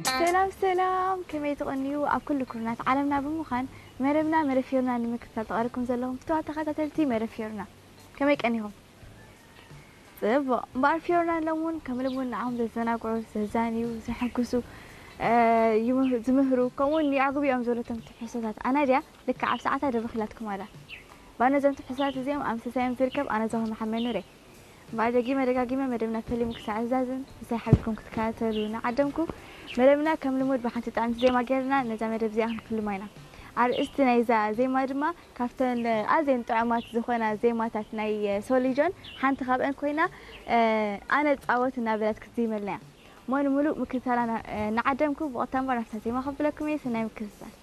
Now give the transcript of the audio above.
ሰላም ሰላም፣ ከመይ ትቐንዩ? ኣብ ኩሉ ኩርናት ዓለምና ብምዃን መደብና መደብ ፊዮርና ንምክትታል ተቐርኩም ዘለኹም ፍትዋት ተኸታተልቲ መደብ ፊዮርና፣ ከመይ ቀኒኹም? ጽቡቕ። እምበኣር ፊዮርና ሎምውን ከም ልሙድ ንዓኹም ዘዘናግዑ፣ ዘዛንዩ፣ ዘሐጉሱ፣ እ፣ ይምህ-፣ ዝምህሩ፣ ከምኡውን የዕግቡ እዮም ዝበለቶም ትሕዝቶታት ኣናድያ ልክዕ ኣብ ሰዓታ ደበኺላትኩም ኣላ። ባነዞም ትሕዝቶታት እዚኦም ኣብ ምሰሳዮም ዝርከብ ኣነ ዞኸ መሓመድ ኑሬ። እምበኣር ደጊመ ደጋጊመ መደብና ፈሊሙ ክሳዕ ዝዛዝም ምሳይ ሓቢርኩም ክትከታተሉ እናዓደምኩ፣ መደብና ከም ልሙድ ብሓንቲ ጥዕምቲ ዜማ ጌርና ነዛ መደብ እዚኣ ክንፍልማ ኢና። ኣርእስቲ ናይዛ ዜማ ድማ ካብተን ኣዝየን ጥዑማት ዝኾና ዜማታት ናይ ሶሊጆን ሓንቲ ካብአን ኮይና፣ እ፣ ኣነ ጻወት እናበለት ክትዜመልና እያ። እሞ ንምሉእ ምክትታላ እና-፣ እናዓደምኩ ብቐጥታ እምበር ናብታ ዜማ ከብለኩም እየ። ሰናይ ምክትታል።